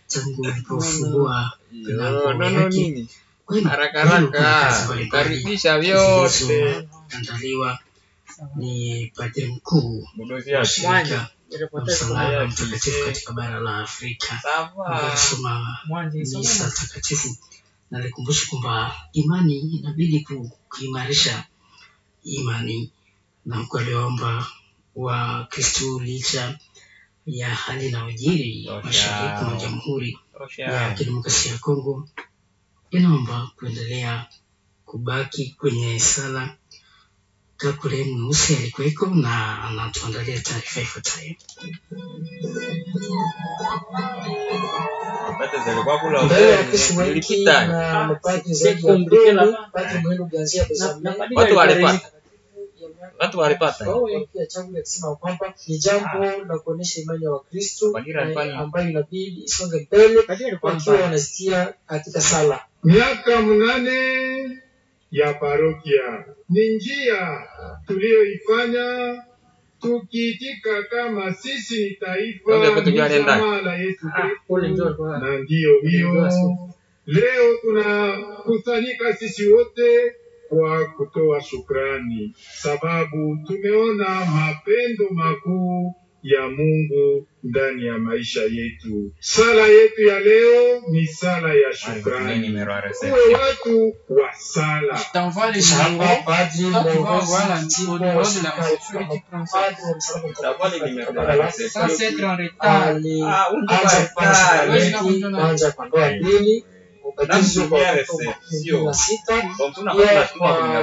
Tangu alipofungua milango Nono yake. nini? Kwani Haraka leo kuna kazi haraka mbalimbali karibisha vyote zilizoandaliwa ni padri mkuu budozi wa yake shirika la Msalaba Haya, Mtakatifu kise. katika bara la Afrika Sawa. ambaye alisoma misa takatifu na alikumbusha kwamba imani inabidi kuimarisha imani, na huku aliwaomba Wakristo licha ya hali na ujiri Tosha. mashariki mwa Jamhuri ya Tosha. Kidemokrasia ya Kongo, inaomba kuendelea kubaki kwenye sala. Kakule Mweusi alikuweko na anatuandalia taarifa ifuatayo. Pete zilikuwa kula Mbele ya ubeni, Wakristo wengi zilipita. na mapadri C'est zaidi ya compliqué 10, là-bas. Padri Muhindo Ganzia Bezame Watu walipata. Watu walipata. parokia changu akisema kwamba ni jambo la kuonyesha imani ya Wakristo Padri alikuwa ni- ambayo inabidi isonge mbele wakiwa wanazitia katika sala. Miaka 8 ya parokia ni njia tuliyoifanya tukiitika kama sisi ni taifa Ndio kwetu ni jua alienda. jamaa la Yesu Kule ndio Kristo, alikuwa- na ndiyo hiyo leo tunakusanyika sisi wote kwa kutoa shukrani, sababu tumeona mapendo makuu ya Mungu ndani ya maisha yetu. Sala yetu ya leo ni sala ya shukrani. Tuwe watu wa sala. T'envoies les Kisha hapa numéros. padri Toi, tu vas mwongozi voir la, jimbo au wa numéro de la shirika réception et tu prends ça. padri wa Msalaba Mtakatifu katika bara la Sans Afrika être en retard. alianza kupana sakramenti kwanza kwa ndoa mbili, ubatizo kwa watoto 26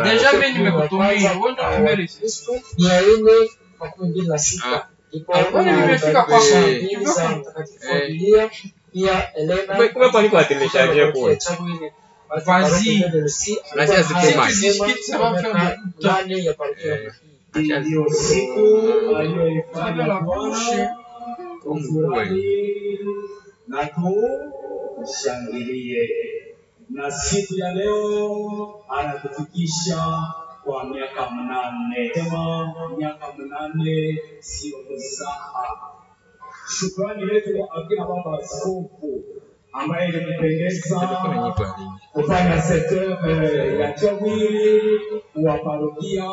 Deja mimi nimekutumia, wewe ndio utumie Kristo 426 ndipo Kwani nimefika kwako? mbili za mtakatifu wa Biblia pia Elena Kumbe kwa nini watilishaje kule? Vas-y. Unajua ziko Si tu discutes, ça va faire beaucoup de temps. nane ya parokia Eh. Ndiyo siku Ouvre aliyoifanya la bouche. Bwana, tufurahi na tushangilie. Na siku ya leo anatufikisha kwa miaka 8. Sema miaka 8 sio mzaha. Shukrani yetu kwa akina baba askofu ambaye ilimpendeza kufanya sekta ya Chawili wa parokia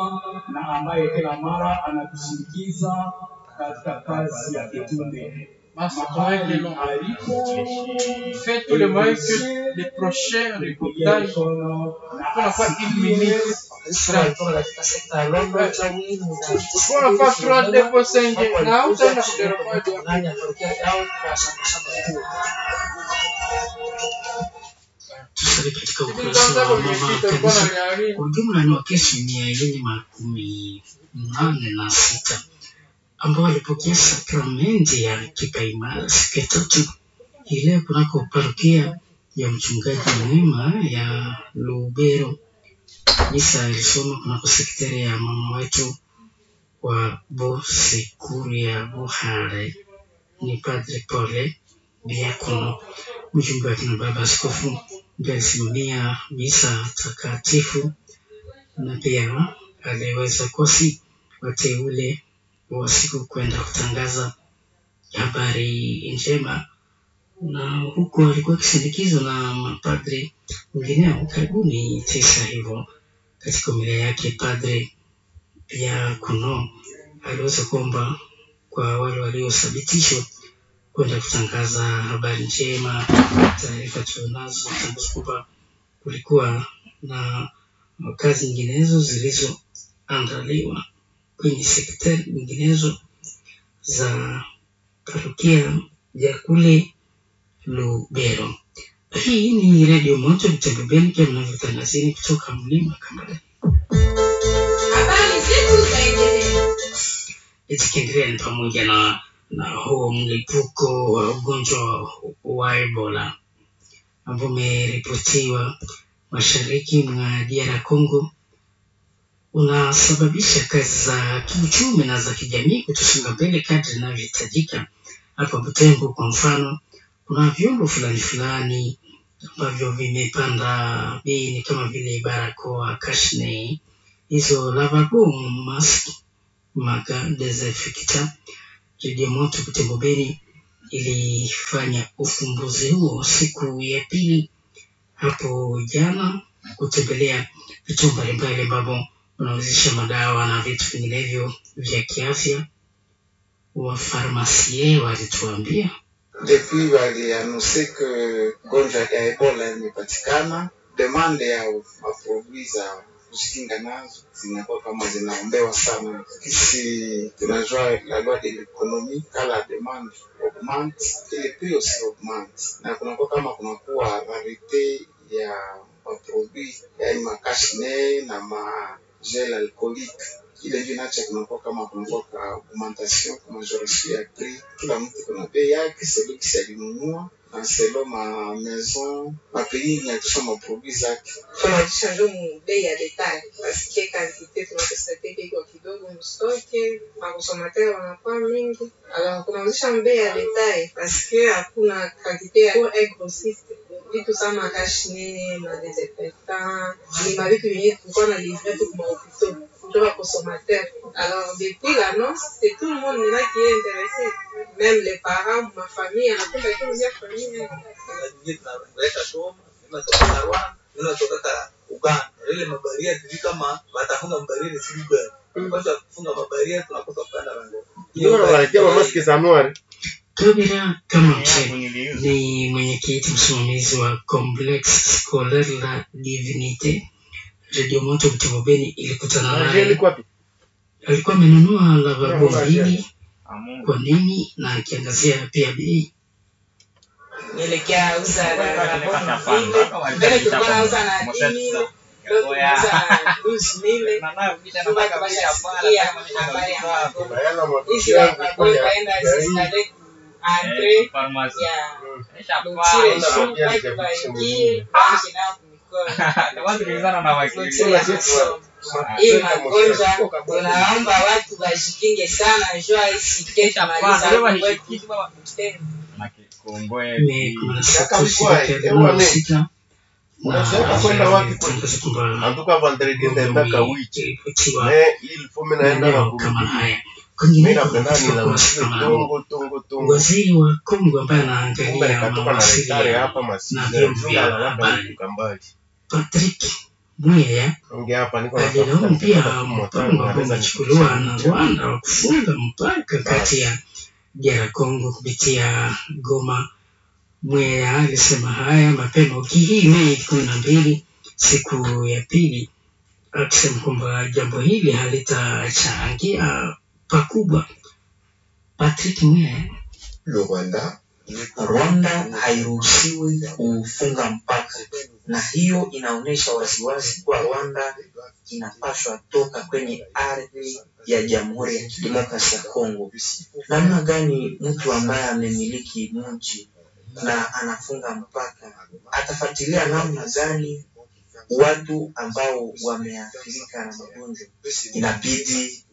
na ambaye kila mara anatusindikiza katika kazi ya kitume. Mas c'est vrai que long. Alipo Fais tout le moyen que les prochains reportages, mkono na on n'a pas une minute. Wakristo walitoka katika sekta ya Londo, Chawili On n'a pas 3, 2, 5. Na hautaenda kuderopoa. nane ya parokia yao kwa shamba shamba kuu. Tusali katika ukurasa wa mama kanisa. Kwa ujumla ni Wakristo 486 ambao walipokea sakramenti ya kipaimara siku ya tatu hii leo kunako parokia ya mchungaji mwema ya Lubero. Misa ilisoma kunako sekteri ya mama wetu wa Bosekuru ya Buhare ni Padre Pole Diakono, mjumbe wa kina baba askofu ndiye alisimamia misa takatifu na pia aliweza kosi wateule wa siku kwenda kutangaza habari njema, na huku alikuwa akisindikizwa na mapadri wengineo karibuni 9 hivyo. Katika homilia yake Padre Diakono aliweza kuomba kwa wale waliothibitishwa kwenda kutangaza habari njema. Taarifa tulionazo tangaza kwamba kulikuwa na kazi nyinginezo zilizoandaliwa kwenye sekta nyinginezo za parokia ya kule Lubero. Hii ni Redio Moto Butembo Beni, pia mnavyotangazini kutoka mlima Kambale. Habari zetu zaendelea. Tukiendelea ni pamoja na huo mlipuko wa ugonjwa wa Ebola ambao umeripotiwa mashariki mwa DR Congo unasababisha kazi za kiuchumi na za kijamii kutosonga mbele kadri inavyohitajika. Hapa Butembo kwa mfano, kuna vyombo fulani fulani ambavyo vimepanda bei, ni kama vile barakoa, kashne, hizo lavabo, mask, maka desinfectant. Redio Moto Butembo Beni Ilifanya ufumbuzi huo siku ya pili hapo jana, kutembelea vituo mbalimbali ambavyo wanauzisha madawa na vitu vinginevyo vya kiafya. Wafarmasie walituambia Depuis walianonse que gonjwa ya Ebola imepatikana, demande ya maproduit za kujikinga nazo zinakuwa kama zinaombewa sana. Kisi tunajua la loi de l'économie ka la demande augmente et le prix aussi augmente, na kunakuwa kama kunakuwa rarite ya maproduit yani makashne na magel alcoolique ile ndio inaacha kunakuwa kama kunakuwa ka augmentation ka majoration ya prix. Kila mtu kuna bei yake selo kisi alinunua na selo ma maison ma pays inatusha maproduit zake. Tunauzisha njo mu bei ya detail paske kantite tunakonstate iko kidogo mstoke, bakonsomateur wanakuwa mingi, alors tunauzisha mu bei ya detail paske hakuna kantite ya pour un grossiste vitu sama kashne ma desinfectant ni mavitu vyenye tulikuwa na livre tu kuma hôpitaux njo ba consommateur. Alors depuis l'annonce, c'est tout le monde maintenant qui est intéressé, même les parents, ma famille anapenda kiuzia famille yake. Nyingine tunaleta Goma, inatoka Rwanda, inatoka Uganda. Ile mabaria tujui kama watafunga mabaria siku gani. Kwanza kufunga mabaria tunakosa kupanda rango. Ndio wanaletea mamaski za noir. Kabila kama mzee ni mwenyekiti msimamizi wa Complexe Scolaire la Divinite. Radio Moto Butembo Beni ilikutana Angel naye, iko wapi? alikuwa amenunua lavabo Angel. mbili. Kwa nini? Na akiangazia pia bei. Nielekea uza na bono vile mbele tulikuwa nauza na 10,000, leo tunauza na 12,000. Ndio watu washasikia habari ya magonjwa hizi, lavabo ikaenda zistale ku entre ya lotire juu watu waingie waoshe nao kumikono lotire ya masomo. Hii magonjwa tunaomba watu washikinge sana, jua isike tumaliza huku kwetu Butembo. Mei 16 Kaka shirika mkwae, linalohusika na Unasema kwenda wapi kwe? tangaza kwamba En tout cas vendredi ugonjwa ndaenda kawichi. umeripotiwa Mais il faut mimi naenda na maeneo kama kurudi. haya. Mimi Kwingineko napenda katika ni kurasa kama huo, tongo tongo tongo. waziri wa Kongo ambaye Kumbe anaangalia nikatoka na retare mawasiliano hapa na masizere. vyombo Juu vya nalala habari huku kambali. Patrick Muyaya Nge hapa niko natafuta alilaumu pia nikapata tu motari mpango ambao anaweza umechukuliwa na nifikisha. Rwanda wa kufunga mpaka kati Basi. ya DR Congo kupitia Goma. Muyaya alisema haya mapema wiki hii Mei 12, siku ya pili, akisema kwamba jambo hili halitachangia pakubwa. Patrick Muyaya Le Rwanda Rwanda hairuhusiwi kufunga mpaka, na hiyo inaonyesha waziwazi kuwa Rwanda inapaswa toka kwenye ardhi ya Jamhuri ya Kidemokrasia ya Kongo. Namna gani mtu ambaye amemiliki mji na anafunga mpaka atafuatilia namna gani watu ambao wameathirika na magonjwa? Inabidi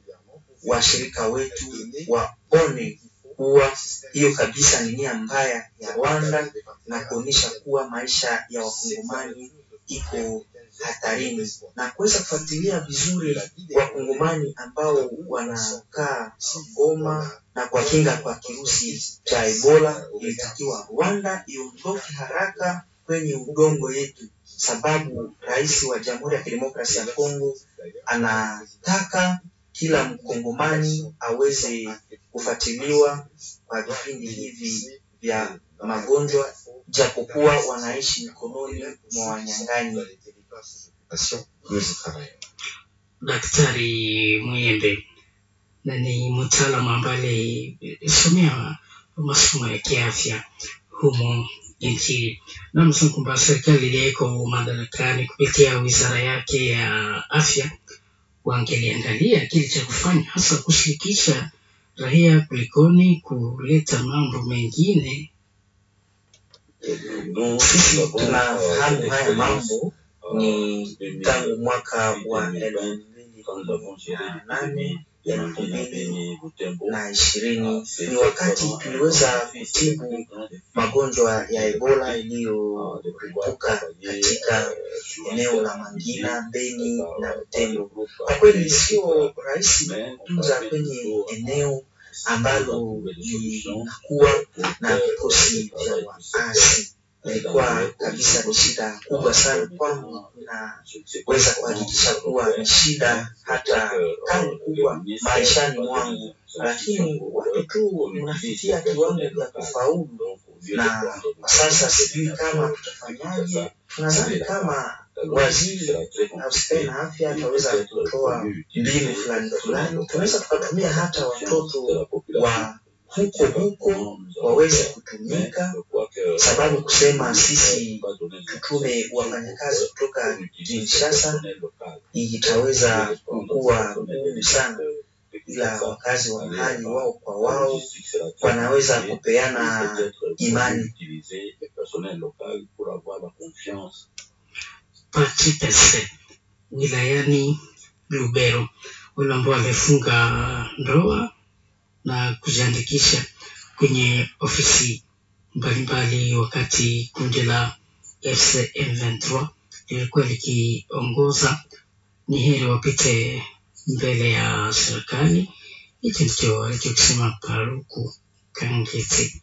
washirika wetu waone kuwa hiyo kabisa ni nia mbaya ya Rwanda na kuonyesha kuwa maisha ya wakongomani iko hatarini na kuweza kufuatilia vizuri wakongomani ambao wanakaa Goma na kuwakinga kwa kirusi cha Ebola. Ilitakiwa Rwanda iondoke haraka kwenye udongo yetu, sababu rais wa Jamhuri ya Kidemokrasia ya Kongo anataka kila mkongomani aweze kufuatiliwa kwa vipindi hivi vya magonjwa, japokuwa wanaishi mikononi mwa wanyang'anyi. Daktari Muyembe na ni mtaalamu ambaye alisomea masomo ya kiafya humo nchini, na amesema kwamba serikali iliyoko madarakani kupitia wizara yake ya afya wangeliangalia kile cha kufanya, hasa kushirikisha raia kulikoni kuleta mambo mengine. Sisi tunafahamu haya mambo ni tangu mwaka wa 2008 2020 ni wakati tuliweza kutibu magonjwa ya Ebola iliyoripuka katika eneo la Mangina, Beni na Butembo. Kwa kweli sio rahisi kutunza kwenye eneo ambalo linakuwa na vikosi vya waasi. Ilikuwa kabisa ni shida kubwa sana kwangu, naweza kuhakikisha kuwa ni shida hata kali kubwa maishani mwangu, lakini watu tu mnafikia kiwango vya kufaulu, na kwa sasa sijui kama tutafanyaje. Tunadhani kama waziri ahusikaye na afya ataweza kutoa mbinu fulani fulani, tunaweza tukatumia hata watoto wa huko huko waweze kutumika, sababu kusema sisi tutume wafanyakazi kutoka Kinshasa itaweza kuwa ngumu sana, ila wakazi wa mahali wao kwa wao wanaweza kupeana imani. Pachipese wilayani Lubero, wale ambao wamefunga ndoa na kujiandikisha kwenye ofisi mbalimbali, wakati kundi la FC M23 lilikuwa likiongoza, ni heri wapite mbele ya serikali. Hicho ndicho alichokisema Paluku Kangeti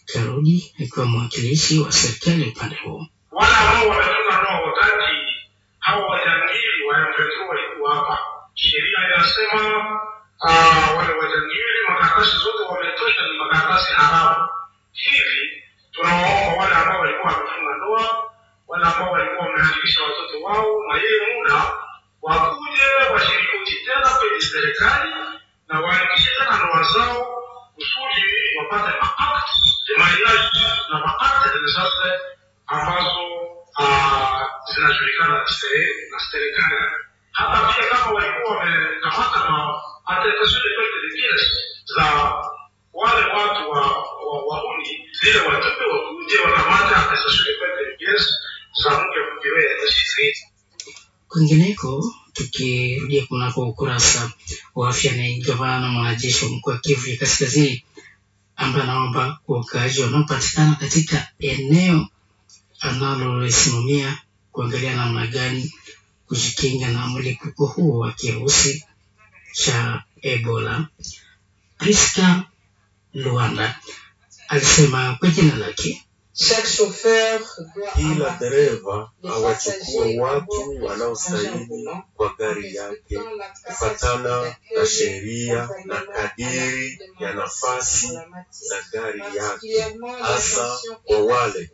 Karudi akiwa mwakilishi wa serikali upande huo. Wale ambao wamefunga ndoa wakati hao wajangili wa M23 walikuwa hapa, sheria inasema wale wajangili makaratasi zote wametosha, ni makaratasi haramu. Hivi tunawaomba wale ambao walikuwa wamefunga ndoa, wale ambao walikuwa wameandikisha watoto wao, na yeye muda wakuje washirikuje tena kwenye serikali na waandikishe tena ndoa zao kusudi wapate maakti de mariage na maakti de naissance ambazo zinajulikana na serikali. Hata pia kama walikuwa wamekamata na attestation de perte de pièces za wale watu wa wahuni, zile watupe wakuje wakamata attestation de perte de pièces za mke mkiwe zaidi. Kwingineko, tukirudia kunako ukurasa wa afya, ni gavana mwanajeshi wa mkoa wa Kivu ya Kaskazini ambaye anaomba kwa wakaaji wanaopatikana katika eneo analolisimamia kuangalia namna gani kujikinga na mlipuko huo wa kirusi cha Ebola. Priska Luanda alisema kwa jina lake Chaque chauffeur doit Kila embarquer dereva les awachukue passagers à watu bord de son engin wanaostahili roulant kwa en gari yake respectant la capacité kufatana na d'accueil sheria na conformément à la kadiri ya réglementation nafasi en la za matière. gari yake, Particulièrement, hasa l'attention kwa est wale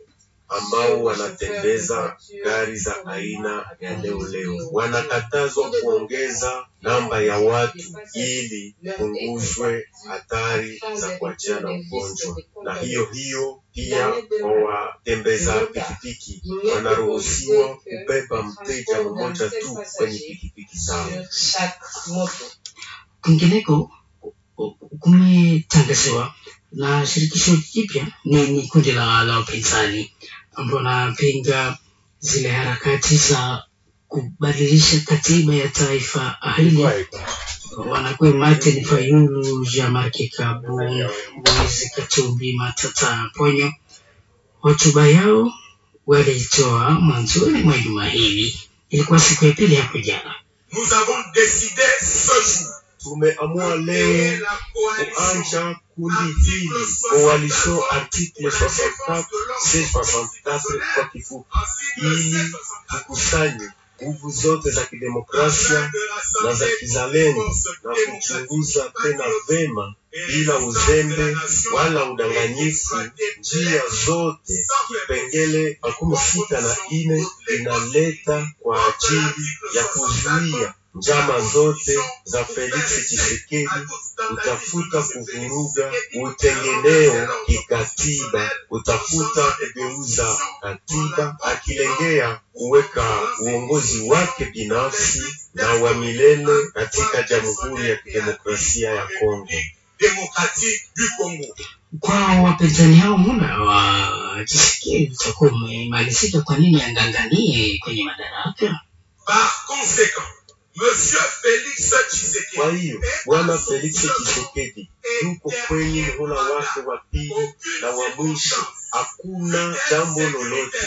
ambao sur les chauffeurs de wanatembeza voitures gari za communément aina ya appelées leo leo. néo-néo. Wanakatazwa Au dedans kuongeza namba ya des watu passagers ili leur est punguzwe interdit hatari sans za éviter kuachana les risques ugonjwa. de Na hiyo contamination. hiyo pia L'année kwa de watembeza retard, pikipiki il n'est wanaruhusiwa autorisé que kubeba le mteja transport d'un mmoja seul tu kwenye passager pikipiki zao. sur chaque moto. Kwingineko kumetangaziwa na shirikisho jipya ni kundi la upinzani ambao wanapinga zile harakati za kubadilisha katiba ya taifa hili. Wanakuwa Martin Fayulu, Jean-Marc Kabund, Moise Katumbi, Matata Ponyo. Hotuba yao waliitoa mwanzoni mwa juma hili, ilikuwa siku ya pili hapo jana. Nous avons décidé ce jour Tumeamua de créer leo la coalition kuanja kundi hili Coalition article 64 C64 kwa kifupi, ili tukusanye nguvu zote za kidemokrasia na za kizalendo na kuchunguza tena vema bila uzembe wala udanganyifu njia zote. Kipengele 64 inaleta kwa ajili ya kuzuia njama zote za Felix Tshisekedi kutafuta kuvuruga utengeneo kikatiba, kutafuta kugeuza katiba, akilengea kuweka uongozi wake binafsi na wa milele katika Jamhuri ya Kidemokrasia ya Kongo. démocratique du Congo. Kwa wapinzani hao muda wa Tshisekedi utakuwa umemalizika, kwa nini anganganie kwenye madaraka? Par conséquent, Monsieur Félix Tshisekedi Kwa hiyo Bwana Felix Tshisekedi yuko kwenye muhula wake wa pili na wa mwisho. Hakuna jambo lolote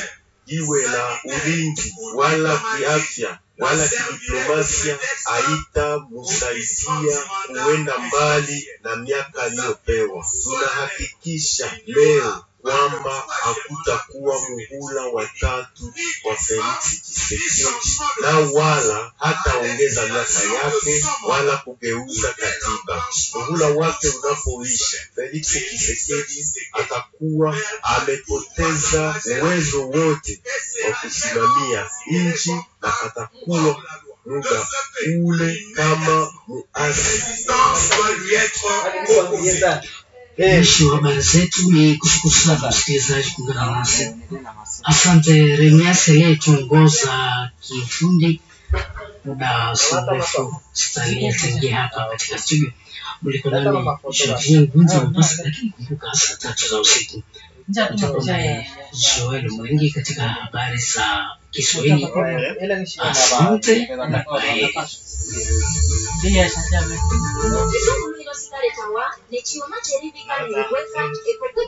iwe la ulinzi wala kiafya wala kidiplomasia haitamsaidia kuenda mbali na miaka aliyopewa. Tunahakikisha leo kwamba hakutakuwa muhula wa tatu wa Felix Tshisekedi na wala hataongeza miaka yake wala kugeuza katiba. Muhula wake unapoisha, Felix Tshisekedi atakuwa amepoteza uwezo wote wa kusimamia nchi na atakuwa muda ule kama muasi. Mwisho wa habari zetu ni kushukuru sana msikilizaji kuungana nasi. Asante Remias aliyetuongoza kiufundi. Muda si mrefu Stanley ataingia hapa katika studio. Mliko nami Julien Gunza Mombasa, lakini kumbuka saa 3 za usiku utakuwa naye Joel Mwengi katika habari za Kiswahili. Asante na kwaheri. Nechioma cherivika ekope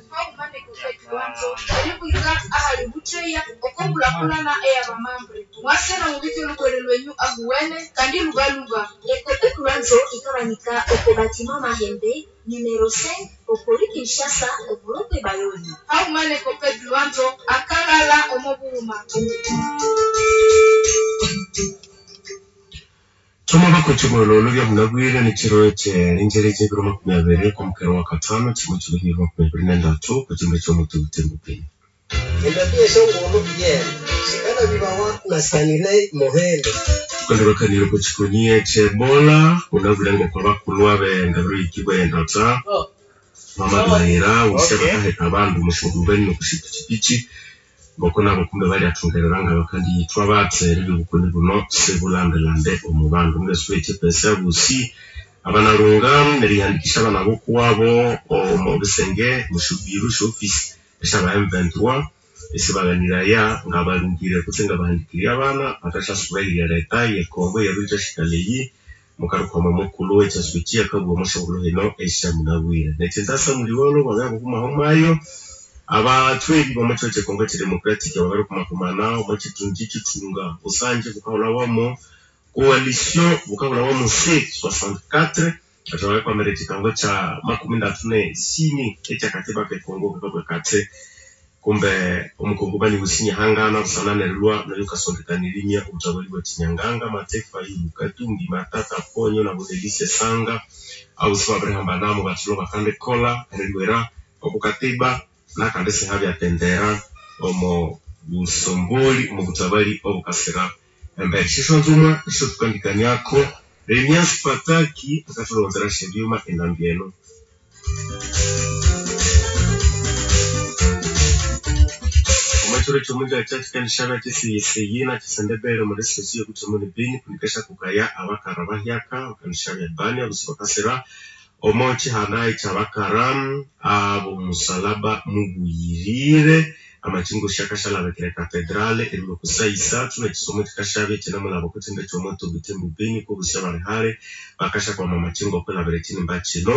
haumane eribwika ahali butheya okombulakulana eyabamambre mwasena mubike lukwere lwenyu ahuwene kandi lubaluba Ekope Lwanzo ikabanika oko batima Mahembe numero 5 okori Kinshasa obolokwe Bayoni. Haumane ekope Lwanzo akalala omobuhuma. Tuma bakuchimololo bya munabwire ni chiro kyerenjereje ebiro 20 kwa mukero wa katano chimo chiro biro 23 kuchimba chomutu butembo. Endabia esongolo yena sikana bibawa na Stanley Mohendo. Tukandibakanire ku kikunyie kyebola unabulengo kwa bakulwa benda birikibwa endata mama bilahira usia bakaheka abandu mushungubeni nokushipichipichi ngoko nabo kumbe baliathungerera nga bakandiyithwa batsere ebibukuni buno sibulandelande omu bandu mugesi w'ekyepesa busi abanalunga neriyandikisha abana bokuwabo omu bisenge mushubiru shofisi esyaba M23 esibaganiraya nga balungire kutse nga bahandikirye abana bathashyasubairya leta yekongo yabirithashikaleyi mukarukwama mukulu ekyasuki akabugha omushongolo hino esyamunabwire nekyenzasa muliwolo bwabya bukumahumayo abathweri bomukyiro kyekongo kyedemocratic babirikumakumana omwakyithungi kithunga busanje bukahulhawamo coalition bukahulhawamo C64 athi babikwamira ekyikango kya 34 ekyakatiba kekongo kakabwa kathi kumbe omukongomani wusinyihangana busana nerilwa neryo kasondekanirimya obutabali bwa kinyanganga Mataifa Ilu Katumbi Matata Ponyo na Budelise Sanga abusi babirihambanamo bathilo bakandikolha erilwira okukatiba nakandi sihabyatendera omo busomboli omu butabali obukasira embere shishonzuma isho tukandikaniako Remias Pataki akatulonzera shebyuma enambi eno. Omwekiro kyomunja kyakikanishabe kyesiyisiyi nakisendebere omuli sesi yokuthemuni bini kunikesha kukaya abakara bahyaka bakanishabya bani abusi bakasira omo kihanda ekyabakara abomusalaba mubuyirire amachingo shakashalabekere katedrale erilwa kusayisathu nekisomo kikashabya kinamulaba okuthinda kyomoto butembu bini kobusi abalihale bakashakwama amachingo okwilabira ekinimba kino.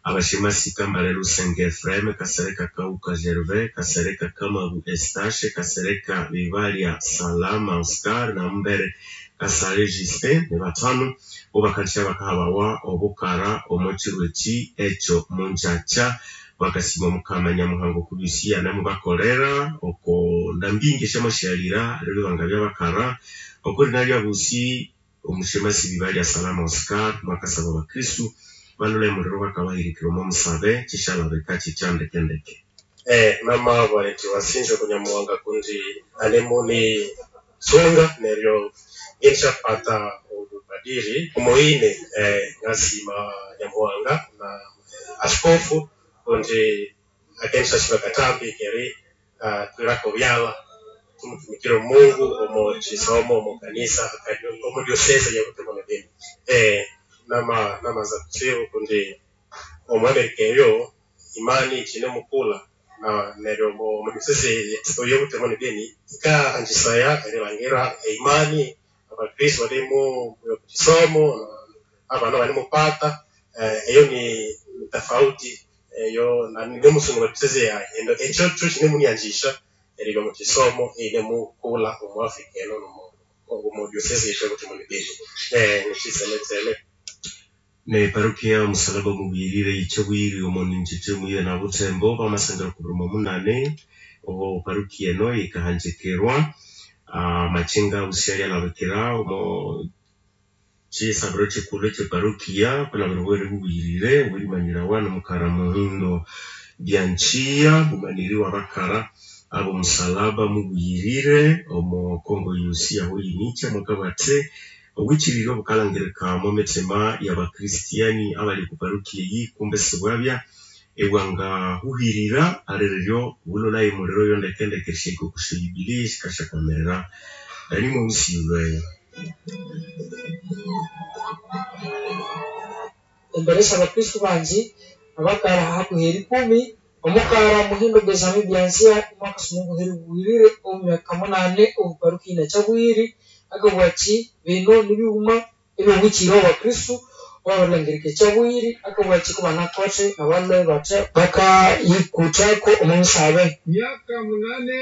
Abashimasika Mbale Lusenge Efraim Kasereka Kauka Gervais Kasereka Kamabu Estache Kasereka Bibalia Salama Oscar na Mbere Kasale Justin ni batano obakanisha bakahabawa obukara omukiro eki ekyo munjacha bakasima mukama nyamuhango kubisiya namubakolera oko ndambingi esyamashyalira lero banga byabakara okuri nalya busi omushemasi Bibalia Salama Oscar mwakasaba abakristu balule muliro bakabahirikira omo musabe kishalabeka kikyandekendeke. Mama bwaleti wasinjwe kunyamuwanga kundi anemuni songa neryo ngenshapata obupadiri omuine ngasima nyamuwanga na askofu kundi akenshashima katambi keri twirako byala tumutumikire Mungu omo chisomo omo kanisa omo diocese ya Butembo na Beni. Nama za kutsibu kundi omwamerika eyo imani chine mukula na neryo omu diocese ya Butembo na Beni ikaanjisaya erilangira imani abakristo balimu kisomo abana balimupata eyo ni tofauti eyo na nimusungu wa diocese ya endo ekyo kyo kine munianjisha erilo mu kisomo ine mukula omu Afrika eno omu omo diocese yethu ebutembo ne Beni nikisemetseme. Ne parokia omusalaba mubirire yikyabwiri omo ninjete muye na Butembo bamasangiro kubirimo munane obo parokia eno yikahanjikirwa amachinga busyali alabikira omo kyisabiro kyikulhu ekye parokia okwilabira obwere bubuyirire obwerimanyirawa nomukara Muhindo Byanchiya mumaniri wabakara abo musalaba mubuyirire omo Kongo yosi aho yinicha mwakabugha athi obwikiriryo obukalhangirika omo mithima yabakristiani abali oku parokia eyi kumbe isibwabya ibwangahuhirira aliriryo bulolhaye omuliro oyo ndekendeke erishahika oku sya jubilee esikasyakwamiririra Dani Mweusi yulweyo. Embere syabakristu bangi abakara hakuhi erikumi omukara Muhindo Benjamin Byanzia mwakasoma obuhere bubuyirire omu myaka munane omu parokia ino ekyabuyiri akabugha athi bino nibighuma ebyobwikirire obwabakristu obabirilhangirika ekyabuyiri akabugha athi kubanakothe abalhwe bathe bakayikuthako omu misabe. Miaka munane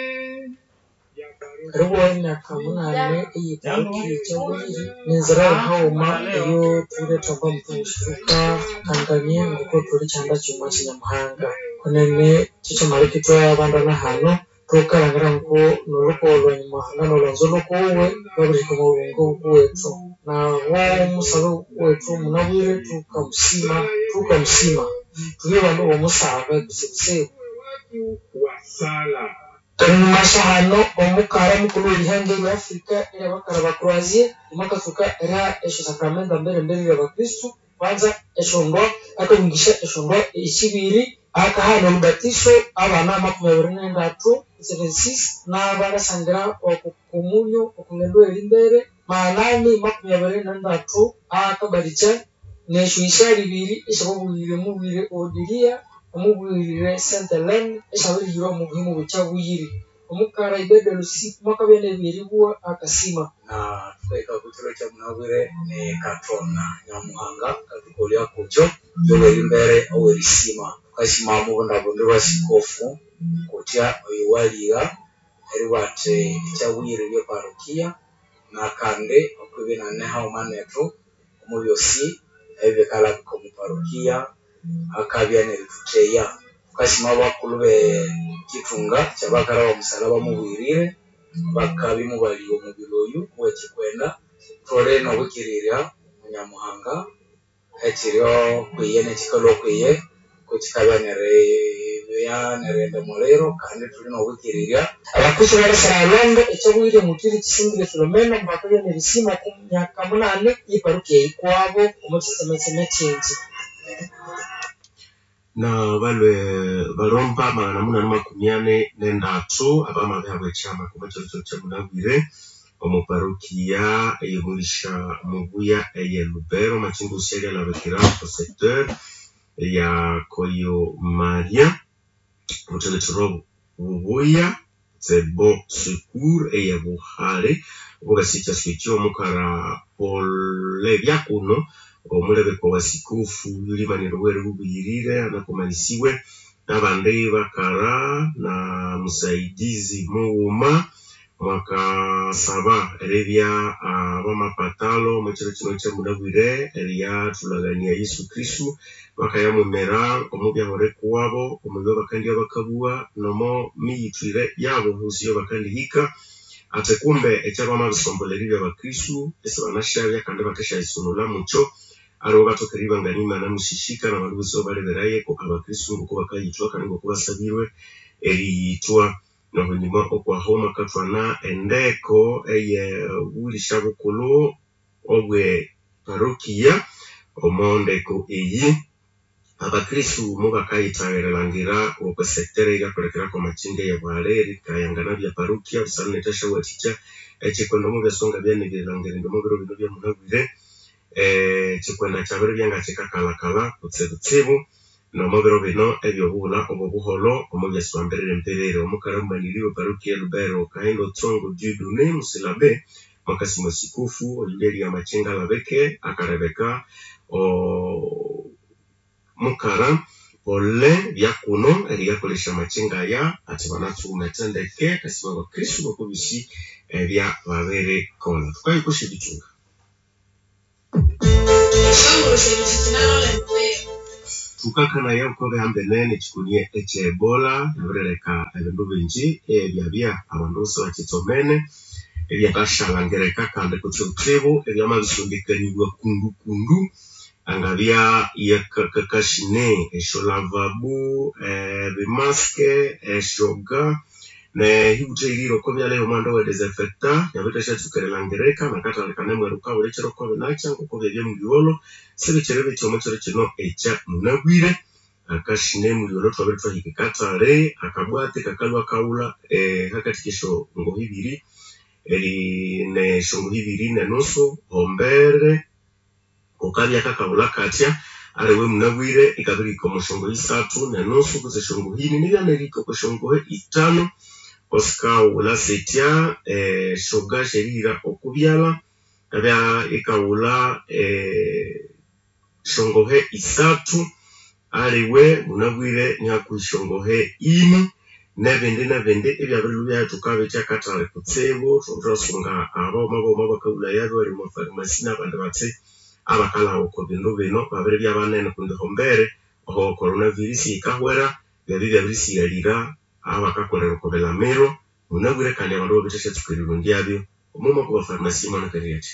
Eribugha emyaka munane eyeparokia ekyabuyiri ninzira yahaghuma eyo thulithamba muthungusi thukakangania ngoko thuli kyanda kyighuma kya Nyamuhanga kwenene kyekyamaleka ithwabandana hano thukalhangira ngoko nolhukogo lwa Nyamuhanga nolwanzo lhukuwe lwabirihika omwa buyingo bukuwethu nabo omusabe wethu munabwire thukamusima thukamusima thubye bandu bomusabe kutsibutsibu. Wa sala. Enyuma hano omukara mukulhu werihanga erya Africa eryabakara ba Croatia omwakatsuka eriha esyo sakramenta mbere-mbere eryabakristu kwanza esyondwa akahungisya esyondwa esyibiri akahana olubatiso abana makumi abiri nendatu 76 n'abarasangira oku komunyo okungendo eyerimbere maanani makumi abiri nendatu akabalikya nesyo isyali ibiri esyababuyire mubwire Odilia omubwirire Saint Helene esyabirihirwa omu buhimu bwekyabuyiri omukara Ibede Lusi mwakabya nebyeribugha akasima. Na thukahika okwa kiro kya munabwire ni kathona Nyamuhanga akathukolya kukyo yowerimbere owerisima thukasima omubundabundu bwa sikofu kutya oyo waligha eribugha athi ekyabuyiri bye parokia nakandi okwibya inane haghuma nethu omu byosi ebikalabika omu parokia akabya nerithutheya thukasima abakulhu be kithunga kyabakara bomusalaba mubuyirire bakabya imubaligha omubiri oyu owekyikwenda thuli nobwikirirya Nyamuhanga ekyiryo kwiye nekyikalhwa kwiye kukyikabya neribya nerighenda omuliro kandi thuli nobwikirirya. Abakristu barisagha elwendo ekyabuyiri omutiri Kisimbire Filomena bakabya nerisima oku myaka munane yeparokia eyikwabo omu kyitsemetseme kyingi. Na balwe balomba magana munani makumi ani nendatu abamabihabwa ekyama okwa kyiro kyiro kyamunabwire omu parokia eyomulisha mubuya eye Lubero amachinga osi alyalabikira oko secteur ya Koyo Maria obuthekethero bubuya Bon Secours eye Buhale obungasikya ekyo omukara Paul Byakuno omulebeko wa sikofu yulimanire obwere bubuyirire anakomanisiwe nabandi bakara na musaidizi mughuma mwakasaba eribya abamapatalo omwekiro kino kyamunabwire eryathulagania Yesu Kristu bakayamwimira omu byahore kuwabo omubyo bakandya bakabugha nomo miyithwire yabo hosi bakandihika ate kumbe ekyabamabisombolha eribya abakristu isibanashabya kandi bakasyayisunulha mukyo aliwe bathoka eribangania Imana musishika nabandu bosi abaleberaye ko abakristu ngoko bakayithwa kandi ngoko basabirwe eriyithwa nohunyuma okwaho mwakathwana endeko eye bulisha bukulhu obwe parokia omo ndeko eyi abakristu mubakayithagirilangira okwe sector eryakolekera kwamakynga eye Buhale erikayangana bya parokia busana nerithasyawathikya ekyikwenda omu byasonga byanibirilangira indi omu biro bino byamunabwire ekikwenda kyabiribya nga kyikakalhakalha kutsibutsibu nomo biro bino ebyobughulha obwobuholho omu byasiba mperere omukara mumaniri we parokia Lubero Kahindo Tsongo Dieudonné Musilabe mwakasima sikofu oyulyalya amakynga alabike akalebeka mukara Pole Byakuno eriyakolesya amakinga aya ati banatsughumete ndeke kasima abakristu bokobisi ebya babirikolha. Thukayikosya ebitunga. Thukakanaya oko bihambene nekikunie ekye Ebola yabirileka ebindu bingi ebyabya abandu isibakyitsomene ebyakashalhangirika kandi kutsibutsibu ebyamabisondekanibwa kundukundu angabya yakakashine esyo lavabu, ebimask, esyoga nehibuthaghirire oko byalha ebyomughanda owe desinfecta yabirithasyastuka erilhangirika nakathali kanemwiruka obulikiro ngokobinakya ngokubyabya mulyogholho sibikyiri bitya omwakiro kino ekya munabwire akashine mulyogholho ithwabere ithwahika ekathali akabwati kakalhwa kaghulha hakathi kesyongoho ibiri nesyongoho ibiri nenusu hombere kukabya kakaghulha kathya aliwe munabwire ikabirihika omo syongoho isathu nenusu kutse esyongoho ini nibyanerihika oko syongoho ithanu kusikaghulha sitya esyoga syerihira oko byalha yabya ikaghulha syongohe isathu aliwe munabwire nihakuhi syongohe ini nebindi nebindi ebyabirilhwa ibyayithuka bitya akathali kutsibu thwasunga abaghuma baghuma abakaghulayabyo abali omwa farumasi nabandi bathi abakalhaba oko bindu bino babiribya banene kundi hombere oho corona virus yikahwera byabya ibyabisighalira abakakolera oko bilamiro munabwire kandi abandu babirithasyastuka erirondyabyo omuma okwa farumasi mwanakanirya athi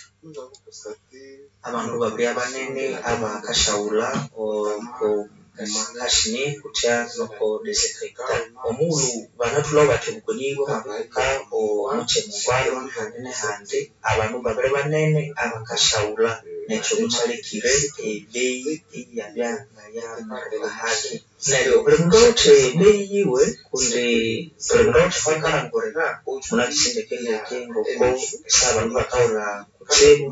Abandu babiribya banene abakasyaghulha oko makashine kutya noko desinfecta omughulhu banathulhabo bathi obukoni bwamabibuka omukyi mugwalwa nehandi nehandi abandu babiri banene abakasyaghulha nekyo mukyalekire ebeyi iyabya ngayamaruka haki neryo buli mundu awithe ebeyi yiwe kundi buli mundu awithe ahwakalhangurira munakisi ndekendeke ngoko esaha abandu bakaghulha kutsibu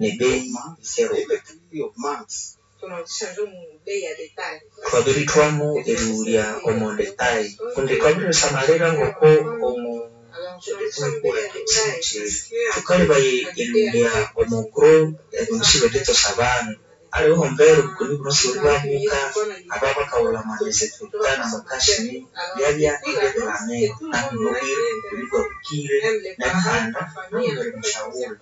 nebeyi yikeruka. Thwabirithwamo erighulya omo detail kundi thwabirisamalira ngoko omo thukalebaya erighulya omo gro ebindu sibenditsosa abandu aliwe ehombere obukoni buno sibuli bwabuka aba bakaghulha ama desinfecta namakashine byabya ibyebilamiro namunabwire obukoni ibwabukire nebihanda nabyo biri musyaghulha.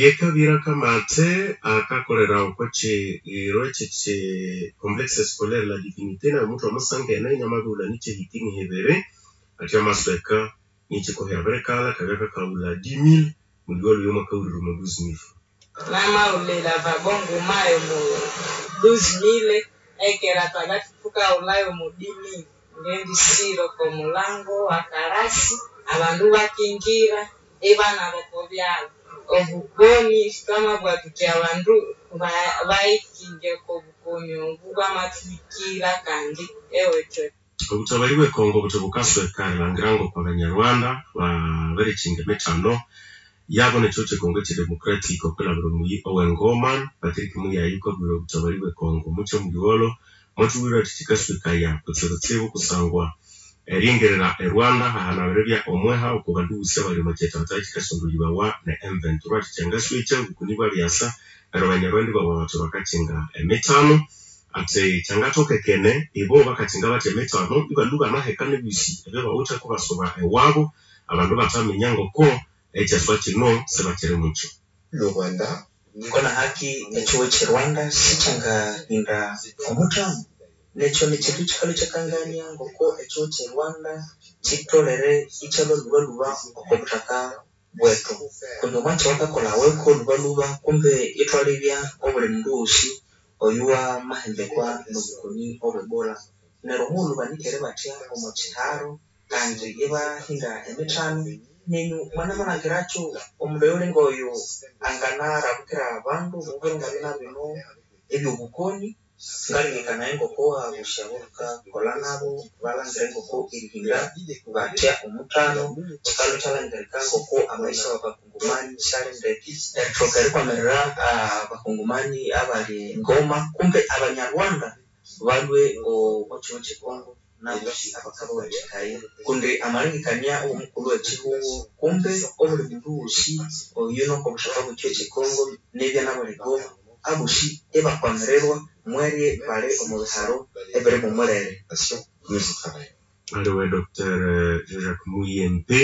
Yekabira kamathe akakolera oko kyiro ekyekyi complexe scolaire la divinité nayo muthwa musangene inamabirighulha nikyehiti nihibiri athi amasweka nikyikohi abirikalha akabya kakaghulha 10000 mulyogholho yomwakawulire omo 12000. Namaghulha elavabo nguma yomo 12000 ekera twabya thukaghulhayo omo 10000. Ngendisira oko mulango wakalasi abandu bakingira ibanaba oko byalha. Obukoni thwamabugha thuthi abandu bayikinge oko bukoni obu bwamathuhikira kandi ewethu. Obutabali bwe Congo buthi bukasweka erilhangira ngoko abanyarwanda babirikyinga emithano yabo nekihugho kye Congo ekye Democratic okwilhabira omuyi owe Ngoma. Patrick Muyaya okabwira obutabali bwe Congo mukya mulyogholho mwathubwira athi kyikaswekaya kutsibutsibu kusangwa eringerera e Rwanda hahana biribya omweha oko bandu bosi abali omo kyitata kyikasondolhibawa ne M23 athi kyangaswekya obukoni bwabyasa neryo abanyarwanda ibabugha bathi bakakyinga emithano athi kyangathokekene ibo bakakyinga bathi emithano ibalhwa ibanaheka nebyosi ebyabawithe kubasuba ewabo abandu bathaminya ngoko ekyaswa kino sibakyiri mukyo. Le Rwanda kona haki ekihugho ekye Rwanda sikyangahinda omuthano nekyo nikyindu kyikalhwa ikyakangania ngoko ekihugho kye Rwanda kyitholere ikyalhwa lhubalhuba oko buthaka bwethu kundi omwatsi owakakolhaweko lhubalhuba kumbe ithwalebya obuli mundu wosi oyuwamahembekwa nobukoni obwe Ebola neryo omughulhu banikere bathya omo kyiharo kandi ibahinda emithano nenyu mwanamalhangirakyo omundu oyuli ngoyo anganarabukira abandu omubiro ngabina bino ebyobukoni ngalengekanaya ngoko abosi abo thukakolha nabo balhangire ngoko erihinda bathya omuthano kyikalhwa ikyalhangirika ngoko amaisha wabakongomani syali ndeke erithoka erikwamirira abakongomani abali Ngoma kumbe abanyarwanda balhwe omo kihugho kye Congo nabosi abakabawathikaya kundi amalengekania owomukulhu wekyihugho kumbe obuli mundu wosi oyunoko obuthaka bwekihugho kye Congo nibya nabali Goma abosi ibakwamirirwa. Mwerye bali omu biharo ebiri mumulere. Aliwe Dr. Jean-Jacques Muyembe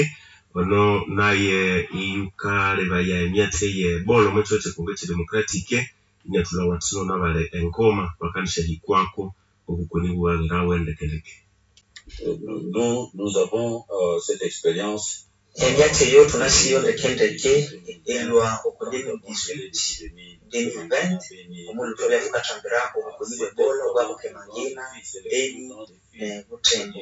ono naye iyukalebaya emyatsi eye Ebola omo kyiro kye Congo Democratic inyathulha wathino nabali engoma bakandisyahikwaku obukoni bubabirawe ndekendeke. Nous, nous avons cette expérience. Emyatsi eyo thunasiyo ndekendeke elwa oku 2018 2020 omulhu thwabya thukathambira obukoni bwe Ebola obwabuka e Mangina, Beni ne Butembo.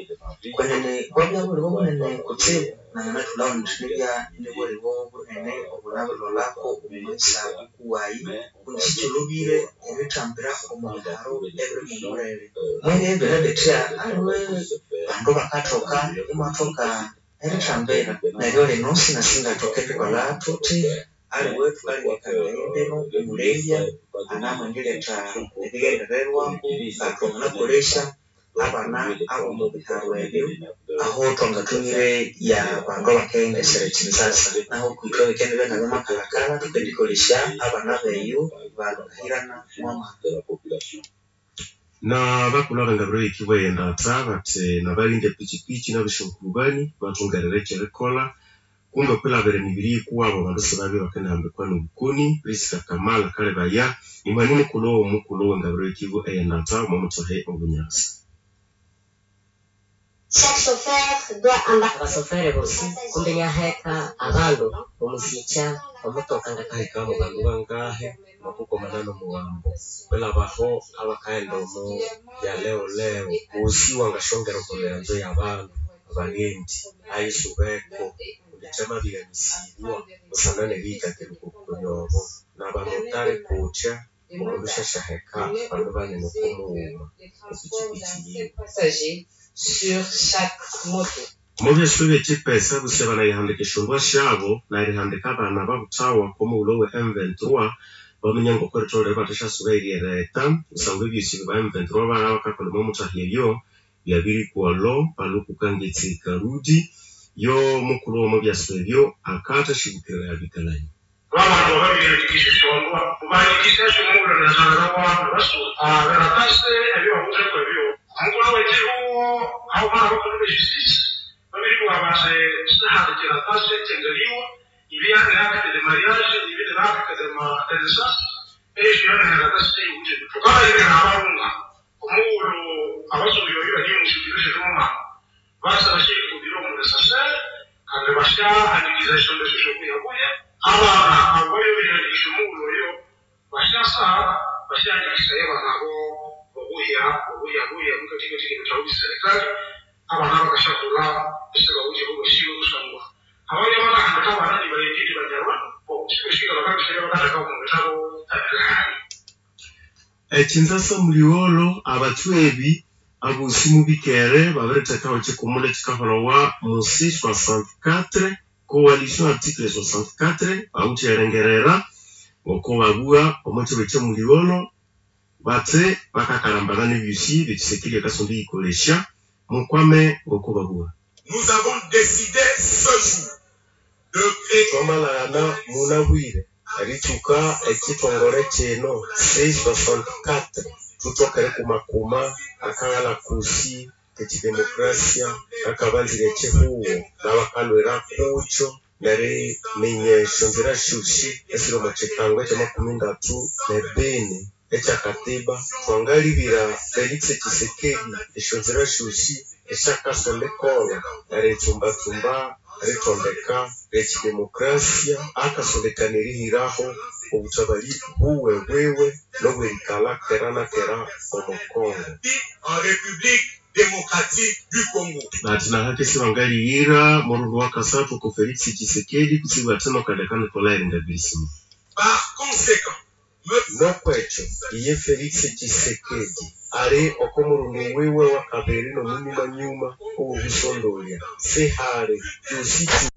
Kwenene bwabya bulibo bunene kutsibu nanganathulhawo indi nibya nibulibo bunene obunabilholako omu maghisa kuwayi kundi sikyolhobire erithambira omu biharo ebiri mumulere. Mwerye biri bithya aliwe bandu bakathoka imwathoka erithambira neryo lino sinasingathoka erikolha thuthi aliwe thukalengekanaya embinu omulebya anamwendiletha ebighendererwako ngathwanganakolesya abana abomu biharo ebyo aho thwangathumire ya bandu abakaghendesera ekinzasa naho kwithwe bikendibya ngabyamakalakala thukendikolesya abana beyo bakahirana mwamaka. Na bakulhu abengabiro yikibwa eyendatha bathi nabalindi epichipichi nabesyankulubani bathungerere ekyerikolha kumbe okwilhabira emibiri yikuwabo abandu sibabye bakendihambikwa nobukoni. Prisca Kamala akalebaya nimwani mukulhu owomukulhu owengabiro yekibwa eyendatha omo muthohe obunyasa. Chaque chauffeur doit embarquer. Abasofere bosi kumbe inaheka abandu omusikya omutoka Ngakahika mu bandu bangahe nokukomana nomugambo kwilhabaho abakaghenda omu bya leo leo ghosi wangasyongera okwa miranzo yabandu abaghendi ayisubeko kundi kyamabirighanisibwa busana neriyikakirya okwa bukoni obo nabamotari kutya omundu syasyaheka bandu banene oko mughuma okwa pichipichi yiwe. Passagers sur chaque moto. Omubyasi byekyipesa busi banayihandika esyondwa syabo nerihandika abana ababuthawa okomughulhu owe M23 baminya ngokuritholere ibathasyasuba eryereta kusangwa ebyosi ba M23 babya bakakolha omwa muthahi eyo byabirikwalho paluku kangetse karudi yo mukulhu womo byasi ebyo akathasyibukirira abikalani. Babantu babiriandikisha esyondwa mubandikisha muwulanirazana basu beratase ebyo babutheko ebyo omukulhu wekyihuho aho bana bakulhu bejustice babiribugha bati sihandikira tase kyengaliwa ibi yanere de mariage ibi ne acte de naissance esyo yanere tase yiwuthi thukabayirira abarunga omuwulhu abasumbi babiri bali omusyukiro syethumumama basa basyikubira omunesasere kandi basyahandikiza esyondo esyo syokuyakuya abana abo bayobiryandikisha omuwulhu oyo basyasa basyahandikisaya abana abo obuya obuya buya mukathikathika ebithabu byeserikali abana bakasyakulha esibawuthi bobasiwe kusangwa ababya bakahandika abana nibayendidi banyarwa sibesika bakabisaya bakatheka omu bitabo ebirihali. Ekinzasa muliwolo abathwebi abosi mubikere babirithekaho ekikumule ekikaholawa musi 64 coalition article 64 bawithe erengerera ngoko babugha omo kiro ekyamuliwolo bathi bakakalambana nebyosi ebyekisekeri akasonda eyikolesya mukwame ngoko babugha. Nous avons décidé ce jour de créer Thwamalhaghana munabwire eritsuka ekithongole kino C64 thuthoke erikumakuma akaghalha kusi ekidemokrasia akabanzire ekyihugho nabakalhwira kukyo neriminya esyonzira syosi esiri omo kyikango ekyamakumi ndatu nebini ekyakatiba thwangalibira Felix Tshisekedi esyonzira syosi esyakasonda ikolha eritsumbatsumba erithondeka lyekidemokrasia akasondekana erihiraho obuthabali buwe bwiwe nobwerikalha kera na kera omo Congo. En République démocratique du Congo. Bathi nahake sibangaliyira murundu wakasathu oko Felix Tshisekedi kutsibu athino kaleka Nikolai Ringabirisima. Par conséquent, Nokwekyo iye Felix Tshisekedi ali oko murundu wiwe wakabiri nomunyumanyuma owobusondolya sihali kyosi kyosi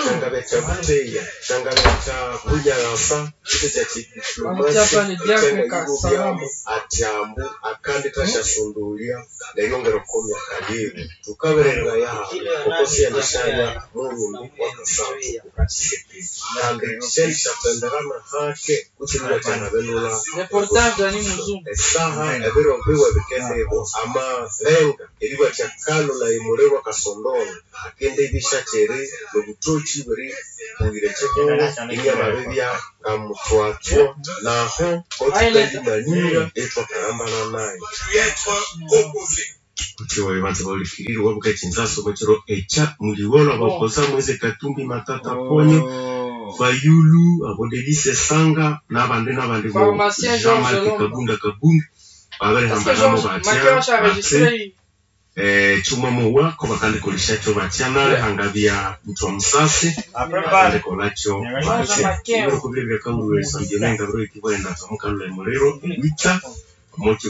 kyangabya kya buteya kyangabya kya bunyaghasa kite kya kidiplomasia ekyangayibobyamu athi ambu akandi thasyasondolya neryongera oko myaka yiwe thukaberereraya hayi oko siyendisyaaya murundu wakasathu oku Tshisekedi kandi syendisyatsembera nahake kutse eriwathya nabendu. erihindulha Reportage Dani Muzungu. Esaha ebiro biwe bikendibwa amalenga eribathya kalula emuliro akasondola akendibisha kyeri nobuthoki bweri buyira ekyihugho inyamabibya ngamuthwathwa naho kothukandimanyira ithwakahambana nayo. Kutse banza bahulikirire wabuka ekinzaso omukiro ekya muliwolho abakoza Moise Katumbi Matata Ponyo Fayulu abo Delise Sanga nabandi nabandi bo Pharmacien Jean-Marc Georges Lomba. Kabunda Kabunda Est-ce que babirihambana Georges batya Makeo a batse enregistré chuma muwa ko bakandikolesha batya nalihangabya muthu wa musasi bakandikolakyo batya ibiro kubiri byakaulwe sambyolenga biro ikibwenda twamukalula emuliro ewitha omuki.